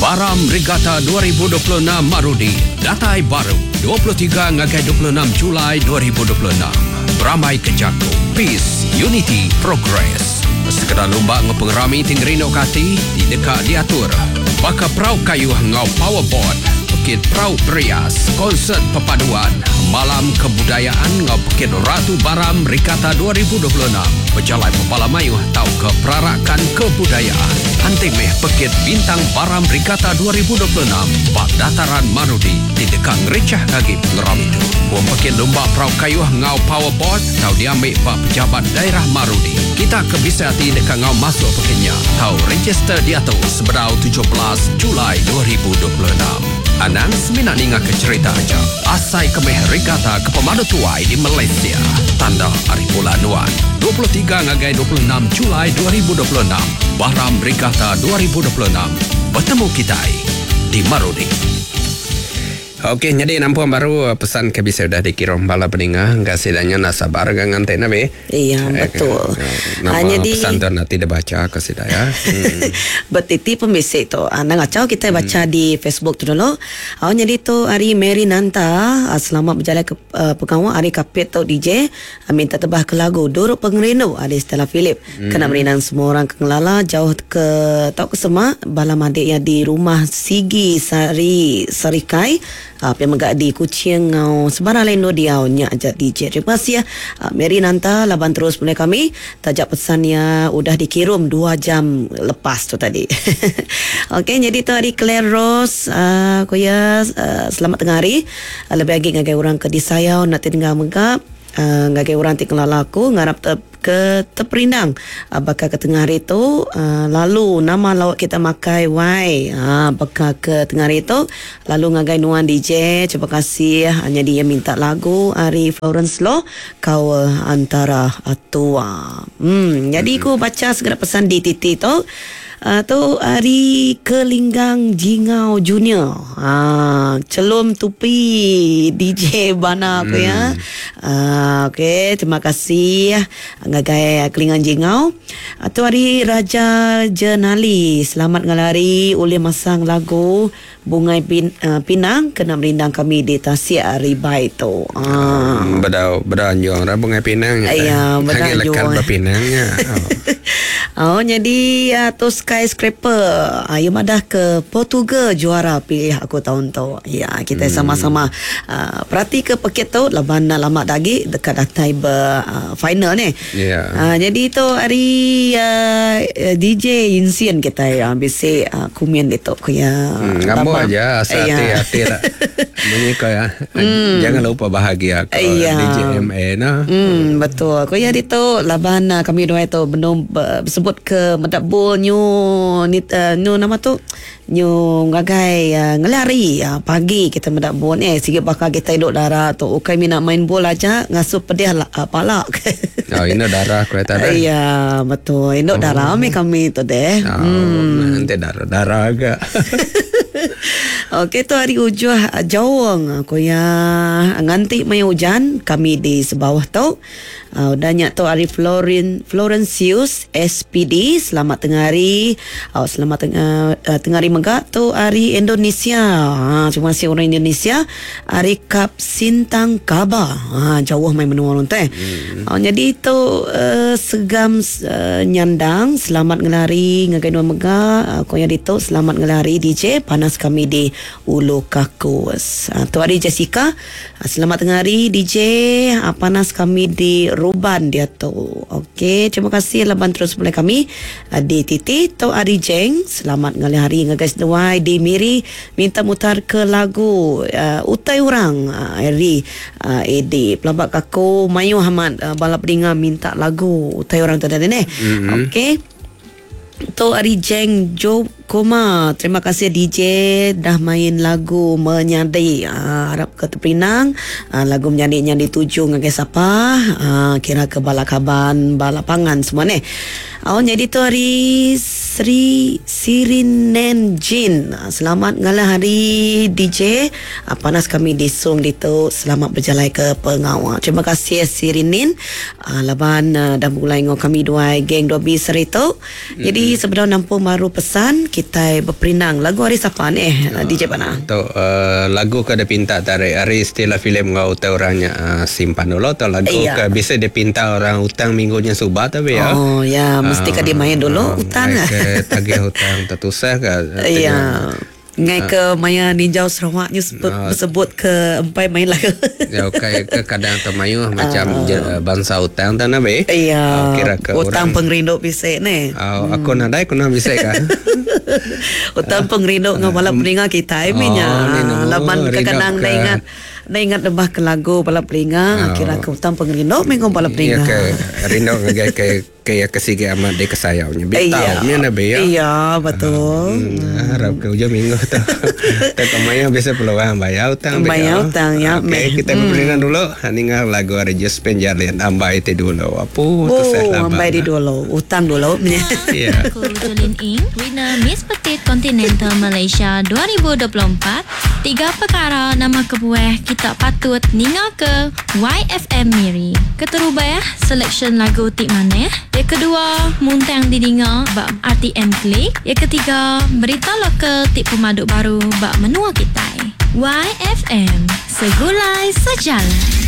Baram Regatta 2026 Marudi datai baru 23 ngagai 26 Julai 2026. Berambai ke jaku Peace, Unity, Progress. Sekeda lumba enggau pengerami ti ngerinduka ati ti deka diatur baka perau kayuh enggau powerboat, pekit perau berias, konsert perpaduan, malam kebudayaan enggau pekit Ratu Baram Regatta 2026 bejalai bebala mayuh tauka perarakan kebudayaan. Anti meh pekit Bintang Baram Regatta 2026 ba Dataran Marudi ti deka ngerichahka agi pengerami tu. Pom pekit lumba perau kayuh enggau powerboat tau diambi ba Pejabat Daerah Marudi. Kita ke bisi ati deka enggau masuk pekit nya tau register diatu sebedau 17 Julai 2026. Anang semina ningaka cherita aja. Asai ke meh regatta ke pemadu tuai di Malaysia. Tanda ari bulan nuan. 23 ngagai 26 Julai 2026, Baram Regatta 2026. Betemu kitai di Marudi. Okey nyadi nampung baru pesan ke bisi udah dikirum bala peninga engka sida nya enda sabar ga nganti ne bih. Iya betul. Nama ha, jadi, pesan tu nanti dibaca ke sida ya. Hmm. Betiti pembisi tu. Anang ngacau kita baca hmm. di Facebook tu dulu. Oh, jadi tu hari Mary Nanta ah, selamat berjalan ke uh, pengawa hari kapit tu DJ ah, minta tebah ke lagu Duruk Pengerindu ari Stella Philip. Hmm. Kena merindang semua orang ke ngelala jauh ke tau ke semak bala madik yang di rumah Sigi Sari Sarikai Pia mega di Kuching enggau sebarang lain endur diau nya aja DJ. Terima kasih Mary Nanta laban terus mulai kami taja pesan iya udah dikirum dua jam lepas tu tadi. Okey nyadi tu ari Claire Rose ku iya selamat tengah hari lebih agi ngagai orang ke disayau enda ti dengar mega ngagai orang ti ngelala aku ngarap te Ke teperindang baka ke tengah hari tu lalu nama lauk kita makai wai baka ke tengah hari tu lalu ngagai nuan DJ terima kasih nyadi iya minta lagu ari Florence Loh kau antara tua em nyadi ku bacha sekeda pesan di titi tu. Tu ari Kelinggang Jingau Junior. Ha, celum tupi DJ Bana ku ya. Ha, okey, terima kasih ngagai Kelinggang Jingau. Tu ari Raja Jenali. Selamat ngalih hari ulih masang lagu Bungai pin, Pinang kena merindang kami di Tasik Ribai tu. Ha. Bedau bedau anjung ra Bungai Pinang nya. Ya, bedau Agi anjung. lekat ba Pinang nya. Oh. Oh nyadi uh, tu skyscraper. Uh, ia madah ke Portugal juara pilih aku tahun tu. Ya, kita hmm. sama-sama uh, perhati ke pekit tu laban lama dah agi dekat datai ber uh, final ni. Ya. Uh, jadi tu hari uh, DJ Insian kita ya bisi uh, kumin ditu ku ya. Hmm, ngambo aja asal Ya. hati hati lah. Munyi ko ya. Jangan lupa bahagia ko Ya. DJ MA no. Hmm, betul. Ku ya ditu laban uh, kami dua itu benung bersebut ke medak bul nyu ni uh, nyu nama tu Nyu ngagai ngelari pagi kita meda bol eh sigi baka kita indu dara tu ukai mina main bol aja ngasuh pedih pala. Oh indu dara ku ita deh. Iya betul indu dara mih kami tu deh. Oh hmm. Enti dara dara ga. Okey tu hari ujuh jaung ku iya nganti maya ujan kami di sebauh tu. Udah nya tu ari Florin Florencius SPD selamat tengah hari. Au selamat tengah uh, tengah hari mega tu ari Indonesia. Ha terima kasih orang Indonesia ari Kap Sintang Kaba. Ha jauh mai menua orang tu eh. Hmm. Uh, jadi tu uh, segam uh, nyandang selamat ngelari ngagai nuan mega uh, ko yang ditu selamat ngelari DJ panas kami di Ulu Kakus. Uh, tu ari Jessica Selamat tengah hari DJ. Panas kami di Ruban diatu. Okey, terima kasih laban terus mulai kami di TT tu hari Jeng. Selamat ngalih hari ngagai seduai di Miri minta mutar ke lagu uh, Utai Orang uh, Ari uh, AD. Pelaba aku mayuh amat uh, bala peninga minta lagu Utai Orang tu tadi neh. Mm-hmm. Okey. Tu ari Jeng Jo Koma. Terima kasih DJ dah main lagu Menyadi. Uh, harap ke terpinang. Uh, lagu Menyadi nya dituju ngagai sapa. Uh, kira ke bala kaban, bala pangan semua neh. Oh, jadi tu hari Sri Sirinen Jin. Selamat ngalah hari DJ. Panas kami di Sung ditu. Selamat berjalai ke pengawa. Terima kasih Sirinin. Laban dah mulai ngau kami dua geng 2B sehari tu. Jadi sebedau nampung baru pesan kita berperindang lagu hari sapa ni DJ Pana. Tu lagu ke ada pinta tarik hari Stella Philip ngau utang orangnya simpan dulu atau lagu ke bisa dia pinta orang utang minggunya subah tapi ya. Oh ya, mesti ka dia main dulu utang lah. Ke tagih hutang tertusah ke. Ya. Ngai ke maya ninjau Sarawak ni sebut ke empai main lagu. Ya okey ke kadang termayuh macam bangsa hutang tak nabi. Ya. Kira ke hutang pengerindu bisik ni. Aku nadai kuna bisik ka. Hutang pengerindu ngau bala peninga kita minya. Laban kadang dah ingat dah ingat lebah ke lagu bala peninga kira ke hutang pengerindu mengau bala peninga. Ya ke rindu ngagai ke ke kesigi amat di kesayaunya. Bitau mi nabi ya. Iya betul. Harap ke hujung minggu tu. Tak kemaya bisa peluang bayar hutang. Bayar hutang ya. Okey, kita berperindang dulu. Ningal lagu ari Just Penjalin ambai ti dulu. Apu tu saya lama. Ambai di dulu. Hutang dulu. Ya. Aku Jolin Ing, winner Miss Petit Continental Malaysia 2024. Tiga perkara nama kebuah kita patut ninga ke YFM Miri. Keterubah selection lagu tik maneh. Yang kedua, muntang didinga bak RTM Klik. Yang ketiga, berita lokal tik pemaduk baru bak menua kita. YFM, segulai sejalan.